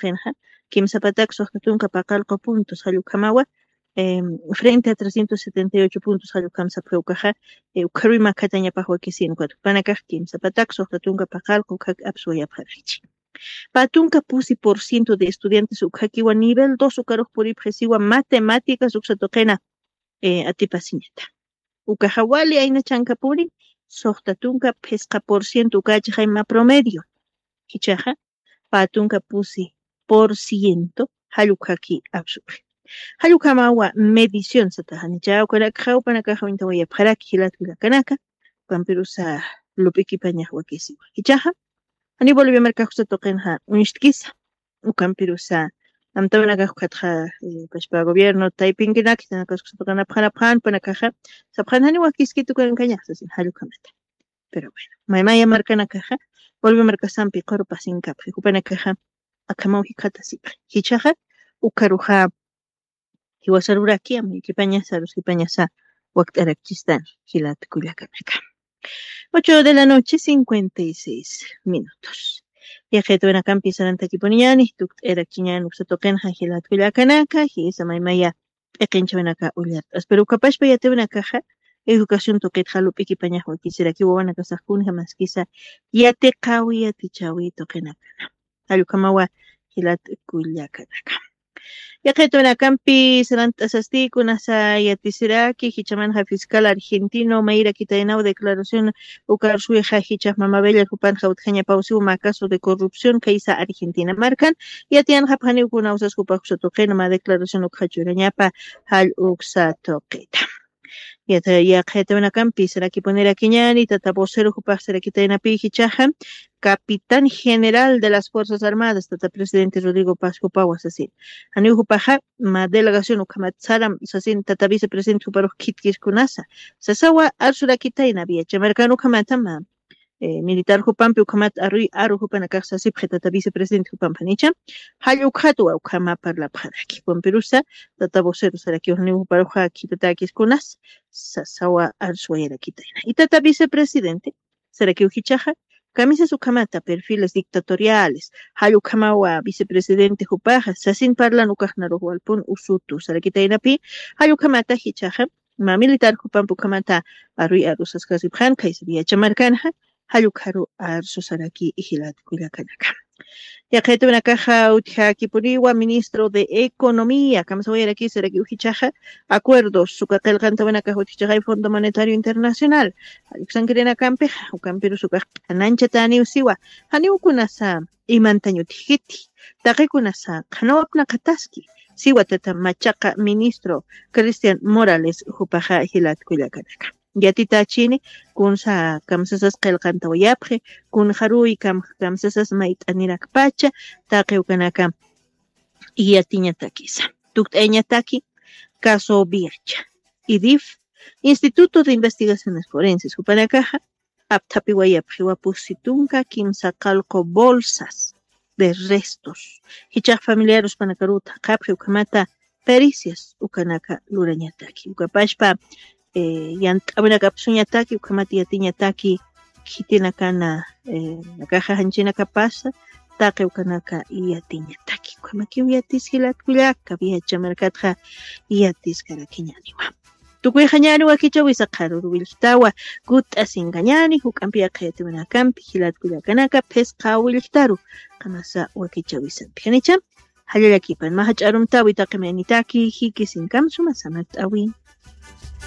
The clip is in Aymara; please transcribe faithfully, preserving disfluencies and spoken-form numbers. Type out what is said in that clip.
tuqinxa kimsapatak suxta tunka paqallqu puntos jall ukhamawa, frente a trescientos setenta y ocho puntos jall ukham sapxi ukaxa. Ukharuy makhatañapax wakisin ukat jupanakax kimsapatak suxta tunka paqallqu ukhak apsuwayapxarakchi. Pä tunka pusi por ciento de estudiantes ukhakiwa nivel dos ukarux puripxisiwa matemáticas uksa tuqina atipasiñata. Ukaxa wali ayna chankapuni suxta tunka phisqa por ciento ukachaxay mä promedio. Jichhaxa pä tunka pusi por ciento jall ukhaki apsuxi. Jall ukhamawa medición sataxanicha ukanakaxa jupanakaxa uñtawayapxaraki jilat kullakanaka. Ukampirusa lup'ikipañax wakisiwa jichhaxa janiw bolivia markax uksa tuqinxa uñstkisa. Ukampirusa amtawanakax ukatxa pashpa gobierno taypinkinaki tanakas uksa tuqinapxanapxan jupanakaxa sapxan janiw wakiskitukankañax sasin jall ukhamata. Pero bueno, maymaya markanakaxa bolivia markasampi quru pasinkapxi jupanakaxa akhamaw jikxatasipxi. Jichhaxa ukharuxa jiwasaruraki amuykipañasa aruskipañasa wakt'arakchistan jilat kullakanaka. Ocho de la noche cincuenta y seis minutos. Yaqitawinakampi sarantakipuniñani tukt'irakchiñani uksa tuqinxa jilat kullakanaka jisa maymaya p'iqinchawinaka ullart'as pero ukapashpa yatiwinakaxa educación tuqitxa lup'ikipañax wakisiraki wawanakasax kunja maskisa yatiqawi yatichawi tuqinakana. Jall ukhamawa jilat kullakanaka. Yaqitawinakampi sarant'asasti kunasa yatisiraki jichhamanxa fiscal argentino mayrakitaynaw declaración ukarsuwixa jichhax mamabella jupanxa utjañapawsiw mä caso de corrupción kaysa argentina markan yatiyanxapxaniw kuna usas jupax uksa tuqina mä declaración ukxa churañapa jall uksa tuqita. Yaqitawinakampi sarakipunirakiñani tata vocero jupax sarakitaynapi jichhaxa capitán general de las fuerzas armadas tata presidente rodrigo paz jupawa sasin. Janiw jupaxa mä delegación ukhamat saram sasin tata vicepresidente juparux khitkiskunasa sasawa arsurakitayna viacha markan ukhamata mä militar jupampi ukhamat aruy aru jupanakax sasipxi tata vicepresidente jupampi janicha jall ukxatwa ukhama parlapxaraki jukampirusa tata vocero sarakiw janiw juparuxa khitatäkiskunas sasawa arsuwayarakitayna y tata vicepresidente sarakiw jichhaxa kamisas ukhamata perfiles dictatoriales jall ukhamawa vicepresidente jupaxa sasin parlan ukaxnarux walpun usutu sarakitaynapi jall ukhamata jichhaxa mä militar jupampi ukhamata aruy arusaskasipxan khaysa viacha markanxa jall ukharu arsusaraki jilat kullakanaka. Yaqitawinakaxa utjakipuniwa ministro de economía kamsawayarakisarakiw jichhaxa acuerdos uka qillqantawinakax utjchaxay fondo monetario internacional jall uksankirinakampixa ukampirus ukax q'anañchataniw siwa janiw kunasa imantañ utjkiti taqikunasa qhanawapnaqataski siwa tata machaqa ministro cristian morales jupaxa jilat kullakanaka. Yatitachini kunsa kamsasas qillqantawayapxi kunxaruy kamsasas mayt'anirakpacha taqi ukanaka yatiñatakisa tukt'ayañataki caso viacha idif instituto de investigaciones forenses jupanakaxa apthapiwayapxiwa pusi tunka kimsa qallqu bolsas de restos jichhax familiarus panakaruw thaqhapxi ukhamata pericias ukanaka lurañataki ukapashpa yant'awinakapsuñataki ukhamata yatiñataki khitinakana nakaxa janchinakapasa taqi ukanaka yatiñataki ukhamakiw yatis jilat kullaka viacha markatxa yatiskarakiñaniwa. Tukuyxañani wakichawisa qharuru willktawa kutt'asinkañani juk'ampi yaqhayatiwinakampi jilat kullakanaka phisqa willktaru qamasa wakichawisampi janicha jallallakipan mä jach'arumtawi taqi maynitaki jikisinkam suma samart'awi.